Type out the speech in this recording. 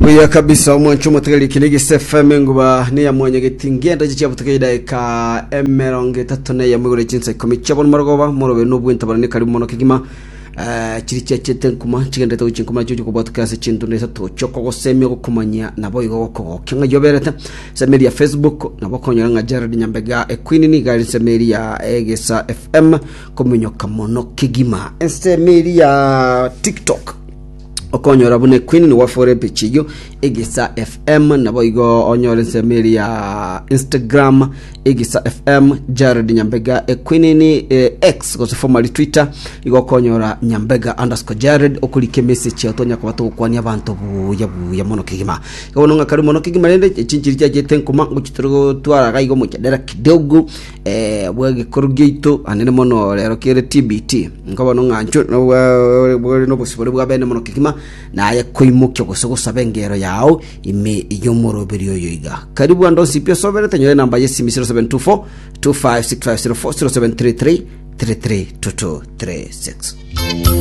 Buya kabisa omwancho omotegereri kende gese FM enguba neya mwanyageti ngenda chichia butuke idaika 31 igoro chinsa 10 chia bono marogoba morobe nobwentabana ne karibu mono kegima. Eh, chiri chiachete nkuma chigendete gochia nkuma nachio chikobwatoka ase chintunda isato chiokogosemia gokomanyia nabo igo gokogokia ng'a yoberete ensemo eria ya Facebook nabo okonyora ng'a Jared Nyambega Equeen niga ari ensemo eria ya Egesa FM kominyoka mono kegima. Ensemo eria ya TikTok okonyora buna Equeen nigo afore epicha eyio Egesa FM nabo igo onyore ensemo eria ya Instagram Egesa FM Jared Nyambega Equeen eh, X gose formerly Twitter igo okonyora Nyambega underscore Jared okorika emessage yao tonya koba togokwania abanto buya buya mono kegima. Igo bono ng'a karibu mono kegima rende chinchiri chiachete nkoma ngochi tore gotwara iga igo omochandera kidogo eh, bw'egekoro giaito anene mono rero kere TBT. Nko bono ng'a inchuo nobwa bore nobosibore bwa bene mono kegima naye koimokia gose gosaba engero yao ime y'omoroberi oyo iga. Karibu ande onsi pi osoberete nyora enamba y'esimi 0724 256504 0733 332236.